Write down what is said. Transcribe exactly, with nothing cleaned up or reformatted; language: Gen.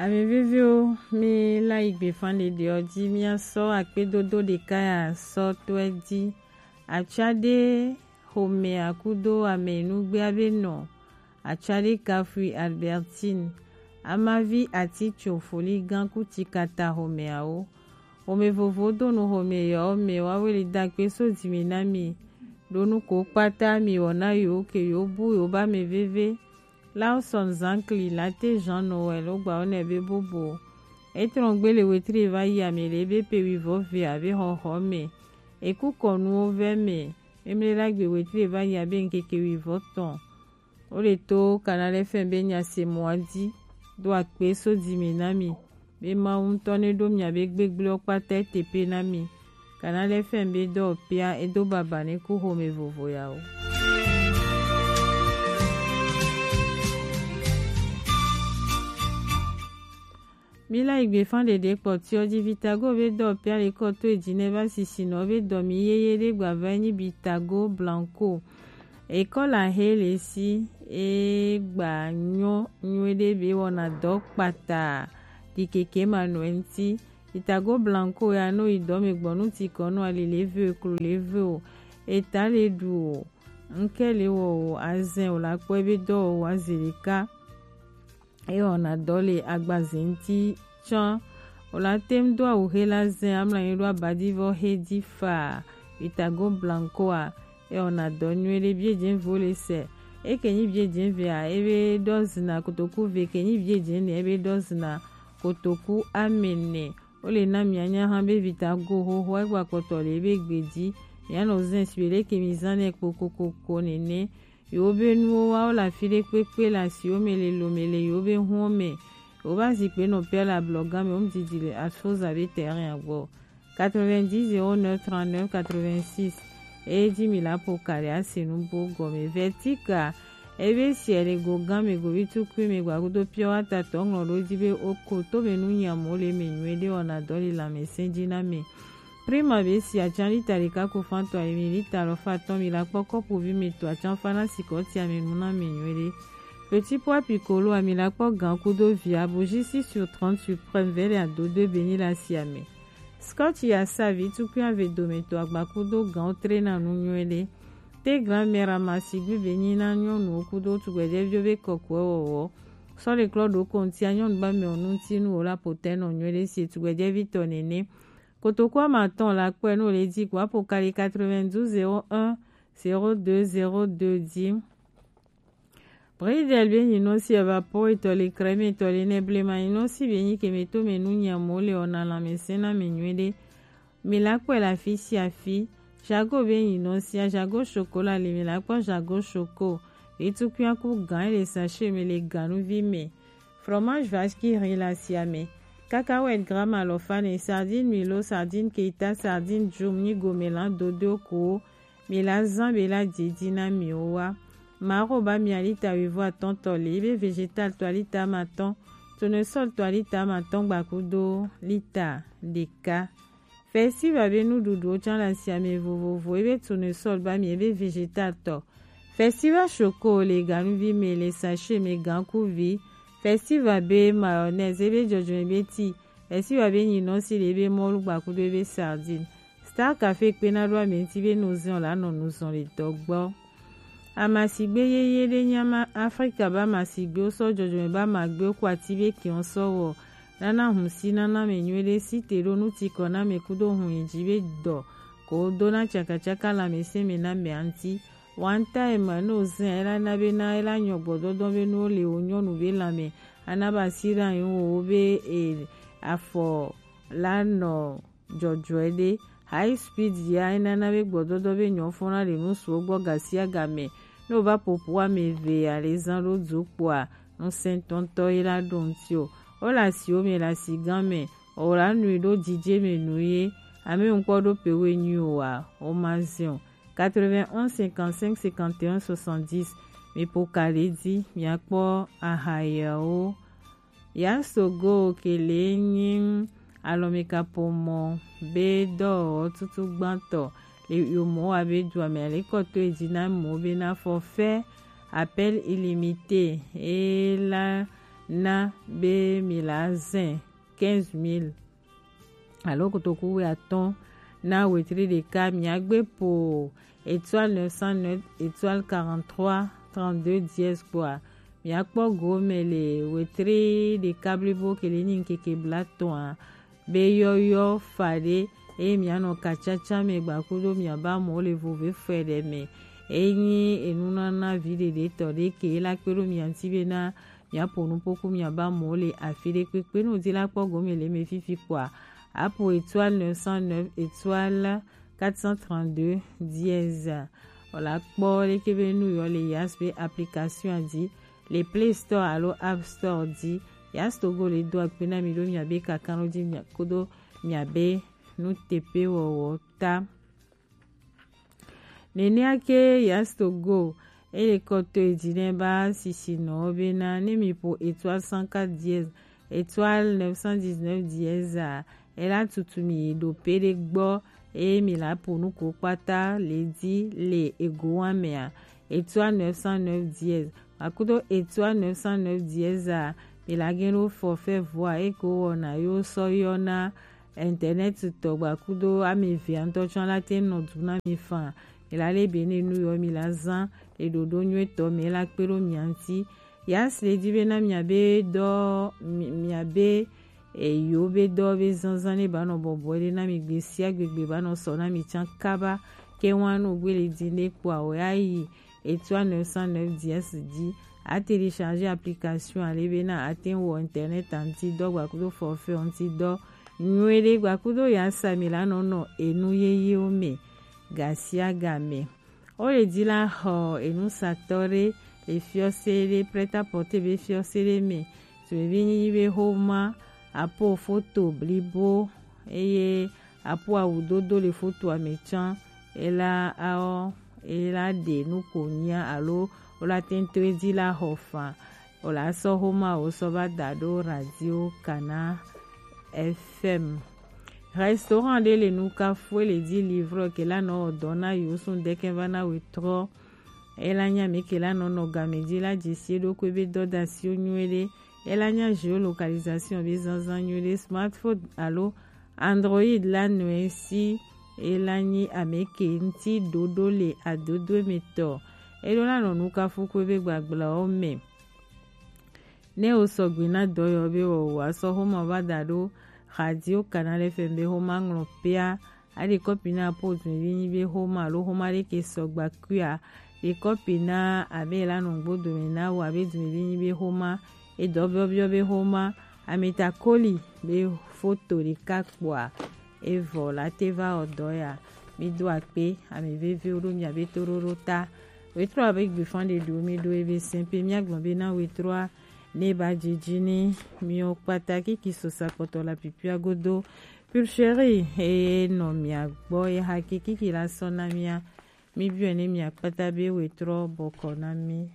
Ame veviwo, mi la yi gbe fan ɖeɖe ɔ ji, mia sɔ akpedodo ɖeka ya sɔ tɔɛ ji. Atsade xomɛ akudo ame nugbe abe nɔ. Atsade kafui Albertine. Amavi atitso foligan kuti kata xomɛ awo. Xomɛ vovo do nu xomɛ yɔ mɛ wa weli da kpe so dimi na mi. Ɖo nu ko kpata mi wɔ na yo ke yo bu yo ba mɛ veve. Lawson Zankli, Late Jean Noël, wo gba wo nɛ be bobo. Etrɔn gbe le wetri va yi ame le be pe wivɔ ve abe xɔxɔ mɛ. Eku kɔnuwo vɛ mɛ. Emle la gbe wetri va yi abe ŋkeke wivɔ tɔn. Wo le to Canal F M be nya se mɔ a di. Do akpe so dimi na mi. Be Mawu ŋutɔ ne ɖo mia be gbegble wo kpata ete pe na mi. Canal F M be dɔ pia edo baba ne ku xomɛ vovo ya o. Mi la yi gbe fan ɖeɖe kpɔtiɔ ji Vitago be dɔ pia le kɔ to eji ne va sisi nɔ be dɔ mi yeye ɖe gba va nyi Vitago Blanco. Ekɔ la he le si e gba nyɔ nyuie ɖe be wɔna dɔ kpata di keke ma nɔ ŋti. Vitago Blanco ya no yi dɔ me gbɔ nu ti kɔ nɔ ali le ve o, klo le ve o, eta le ɖu o, ŋkɛ le wɔ o, azɛn o la kpɔ ebe dɔ o wa ze ɖeka. E wɔna dɔ le agbaze ŋti tsã. O la tem do awu he la zɛn amla nyi ɖo abadivɔ he di fa. Vitago Blanco a, e wɔna dɔ nyuie ɖe bie dze vo le sɛ. E ke nyi bie dze ve a, e be dɔ zina kotoku ve, ke nyi bie dze ne, e be dɔ zina kotoku amene. Wo le na mia nya hã be Vitago xoxo egba kpɔtɔ le ebe gbe ji. Mia nɔ zɛn si be leke mi zan nɛ kpokokoko nene. Yewo be nuwo wa wo le afi ɖe kpekpe le asiwo me le lo me le yewo be huwo me. Yewo va zi kpe nɔ pia le ablɔga me, wo mu didi le Asoza be terrain a gbɔ. Quatre-vingt-dix zéro neuf trente-neuf quatre-vingt-six. Eye ji mi la po ka ɖe asi nu bo gɔme. Vertika, ebe si le go gan me go bi tukui me gba kudo pia wa ta tɔ ŋlɔ ɖo ji be o ko to me nu nya mo le me nyuie ɖe wɔna dɔ le lãmesẽ ji na me. Prima be si atsan lita ɖeka ko fan tɔ emi lita alɔfa atɔ̃ mi la kpɔ kɔpu vi me to atsan fa na sikɔ ti ame nu na me nyuie ɖe. Petit pois piccolo ami la kpɔ gan kudo vi aboji six sur trente suprême vɛ le ado do be nyi la si ame. Scotch ya sa vi tukui ave dome to agba kudo gan o tre na nu nyuie ɖe. Te grand-mère ama sigbe be nyi na nyɔnuwo kudo tugbɛjɛviwo be kɔkuɛ wɔwɔ. Sɔ le klɔ ɖo kontia nyɔnu ba me o nu ti nu o la potɛ nɔ nyuie ɖe si tugbɛjɛvi tɔ nene. Kotoku ama tɔn la kpɔe no le di kpo apo kali quatre-vingt-douze zéro un zéro deux zéro deux di. Bridel be nyinɔsi evapo etɔ le crème etɔ le ne blema nyinɔsi be nyi ke me to me nu nya mo le ona lãmesẽ na me nyuie ɖe. Mi la kpɔe le afi sia afi. Jago be nyinɔsia, Jago Choco la le, mi la kpɔ Jago Choco. Etukuia ku gan le sachet me le ganuvi me. Fromage vache qui rit la sia me. Cacahuète gramme alɔfa ne, sardine Milo, sardine Keita, sardine Jum nyi gome lan dodo ko. Mi la zan be la didi na mi o wa. Maro ba mi alita wivɔ atɔ̃ tɔ le, ebe végétal tɔ alita ama atɔ̃, tournesol tɔ alita ama atɔ̃ gba kudo lita ɖeka. Festival be nuɖuɖuwo tsã le asiame vovovo, ebe tournesol ba mi ebe végétal tɔ. Festival Choco le ganuvi me le sachet me gankuvi. Festival be mayonnaise ebe dzɔdzɔme be ti. Festival be nyinɔsi le ebe mɔlu gba kudo ebe sardine. Star Café kpena ɖo ame ŋuti be nuzɔn la nɔ nuzɔn le dɔ gbɔ. Amasigbe yeye ɖe nyi ama Afrika be amasigbewo sɔ dzɔdzɔme be amagbewo ku ati be kiɔ sɔ wɔ nana hun si nana ame nyuie ɖe si te ɖo nutikɔ na ame kudo hun yi dzi be dɔ ko dona tsakatsaka le amesẽ me na amea ŋuti. Wanta ema ne wozã ela na be na ela nyɔ gbɔdɔdɔ be nuwo le wo nyɔnu be lãme ana be asi ɖe anyi wo be e afɔ la nɔ dzɔdzɔe ɖe. High speed ya enana be gbɔdɔdɔ be nyɔ fɔna le nu suwo gbɔ gasiagame. Ne wova ƒoƒu ame eve ya le zã ɖo du kpoa, ŋusẽtɔtɔ ye la ɖo ŋuti o. Wole asiwo me le asigã me, o la nui ɖo didie me nu ye. Ame ŋkpɔ ɖo pe we nyui oa, o ma zin o. Quatre-vingt-onze cinquante-cinq cinquante et un soixante-dix. Mi ƒo ka ɖe dzi, miakpɔ aha yawo. Yasogo kele nyi alɔmekaƒomɔ be dɔwɔwɔ tutu gbãtɔ le yomo wa be dua me ale kɔto edzi na mo be na forfait appel illimité e la na be mi la zɛn quinze mille alo kotoku wuiatɔ̃ na wetri ɖeka. Miagbe po étoile neuf cent neuf étoile quarante-trois trente-deux dièse kpoa, miakpɔ gome le wetri ɖeka blibo ke le nyi ŋkeke blatɔ̃a be yɔyɔ faɖe, eye mianɔ kacaca me gbakudo miaba mɔ le vovefɔe ɖe me. Enyi enunana viɖeɖetɔ ɖe ke la kpe ɖo mia ŋuti bena miaƒo nuƒo ku miaba mɔ le afi ɖe kpekpe. Ne wòdi la kpɔ gome le eme fifi kpoa, apo étoile neuf cent neuf étoile quatre cent trente-deux dièse. Wòla kpɔ leke be nu yɔ le Yas be application dzi le Play Store alo App Store dzi. Yas Togo le do akpe na mi ɖo miabe kakanlo dzi mia-, kodo miabe nuteƒewɔwɔ ta. Nenea ke Yas Togo ele kɔtɔe dzi ne ba sisinɔwo bena ne mi ƒo étoile cent quatre dièse étoile neuf cent dix-neuf dièse a, ela tutu mi yi ɖo pe ɖe gbɔ eye mi la ƒo nu ko kpata le dzi le ego wa mea, étoile neuf cent neuf dièse akudo étoile neuf cent neuf dièse a, mi la gen ɖo forfait voix eko wɔna yo sɔ yɔna internet tɔ gbakudo ame evea ŋutɔ tsɔ la te nɔ du na mi fan. Mi la le be ne nu yɔ mi la zan le ɖoɖo nyuitɔ me la kpe ɖo mia ŋuti. Yas le di bena miabe dɔ, mi-, miabe eyo be dɔ be zanzan ne ba nɔ bɔbɔ ɖe na mi gbe sia gbe gbe ba nɔ sɔ na mi can kaba. Ke wan no gbe le di ne kpoa o ya yi étoile neuf cent neuf dièse dzi. A télécharger application ale bena a te wɔ internet a ŋuti dɔ gbakudo forfait ŋuti dɔ nyuie ɖe gbakudo ya sa mi la nɔ nɔ enu yeyewo me ga sia ga me. O le di la xɔ enusatɔ ɖe le fiɔse ɖe prêt-à-porter be fiɔse ɖe me. Tumevi nyi be xoma apo foto blibo eye apo awu dodo le fotoa me can. Ela aɔ ela ɖe nu ko nyia alo wola tento edi la xɔ fan. Wola sɔ xoma wo sɔ va da ɖo radio Kana F M. Restaurant ɖe le nu kafue le di livre ke la nɔ dɔ na yo sun deke va na wetrɔ. Ela nya mi ke la nɔ nɔ game di la dzi si ɖokui be dɔdasiwo nyuie ɖe. Ela nya géolocalisation be zanzan nyuie ɖe. Smartphone alo Android la nɔe si ela nyi ame ke ŋuti ɖoɖo le adodo me tɔ. Eɖo la nɔ nu kafu kue be gbagblɔwo me. Ne wo sɔgbe na dɔ yɔ be wɔ wa sɔ xoma va da ɖo radio Canal F M be xoma ŋlɔ pea. Aɖe kɔpi na po dumevi nyi be xoma alo xoma ɖe ke sɔgba kuia. Ɖe kɔpi na abe la nɔ gbo dome na wo abe dumevi nyi be xoma. Edɔ biɔbiɔ be xoma. Ameta koli be foto ɖeka kpoa. Evɔ la te va wɔ dɔ ya. Mi do akpe ame veviwo ɖo miabe toɖoɖo ta. Wetrɔ abe gbefan ɖe ɖo mi ɖo ebe sɛn pe miagblɔ be na wetrɔa ne ba dzidzi ni miwo kpata kiki sosa kpɔtɔ la pipia godo. Pulcheri eye nɔ mia gbɔ ye haki kiki la sɔ na mia. Mi biɔ ne mia kpata be wetrɔ bɔkɔ na mi.